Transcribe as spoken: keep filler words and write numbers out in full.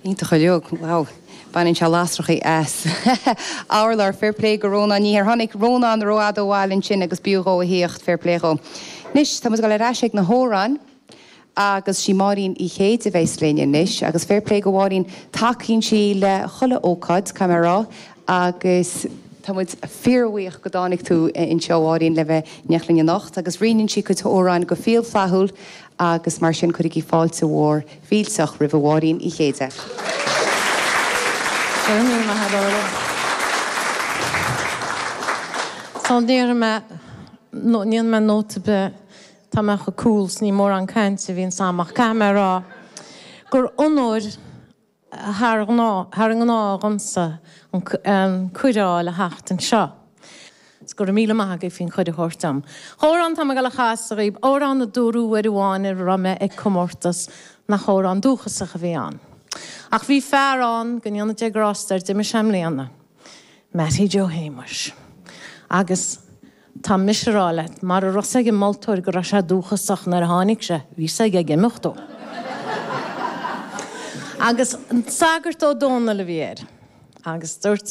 Iontach uilig, wow. Baineann sé lasrachaí as. Urlár, fair play go Rónán ní ar tháinig Rónán rófhada ó bhaile ansin agus b'fhiú dhó a thíocht fair play dhó. Anois tá muid ag dul ar ais ag na hamhráin agus sí Máirín Uí Chéide a bheas linn anois agus fair play go Mháirín tacaíonn sí le chuile ócáid caithfidh mé a rá agus tá muid fíorbhuíoch go dtáinig tú anseo Máirín le bheith in éineacht linn anocht agus roinneann sí cuid amhrán go fial flaithiúil agus mar sin cuirigí fáilte mhór mhillteach roimh Mháirín Uí Chéide. Go raibh míle maith agat, Orla. So ní mé ní mé nóta be tá mé chomh cool 's ní mórán cainte a bhíonn agam ach caithfidh mé rá gur onóir thar thar an ngnáth dhomsa an cuireadh le theacht anseo. Go raibh míle maith agaibh faoin chuireadh a thabhairt dom. Amhrán tá mé ag dul a chasadh dhaoibh amhrán a dúradh uair amháin a raibh mé ag comórtas nach amhrán dúchasach a bhí ann. Ach bhí fear ann go ndéana Dia grásta air d'imigh sé i mbliana. Mattie Joe Shéamuis. Agus tá mise ag rá leat mar a raibh ag an moltóir go raibh sé dúchasach nuair a tháinig sé, bhí sé ag imeacht dó. Agus sagart Ó Dónaill a bhí air. Agus dúirt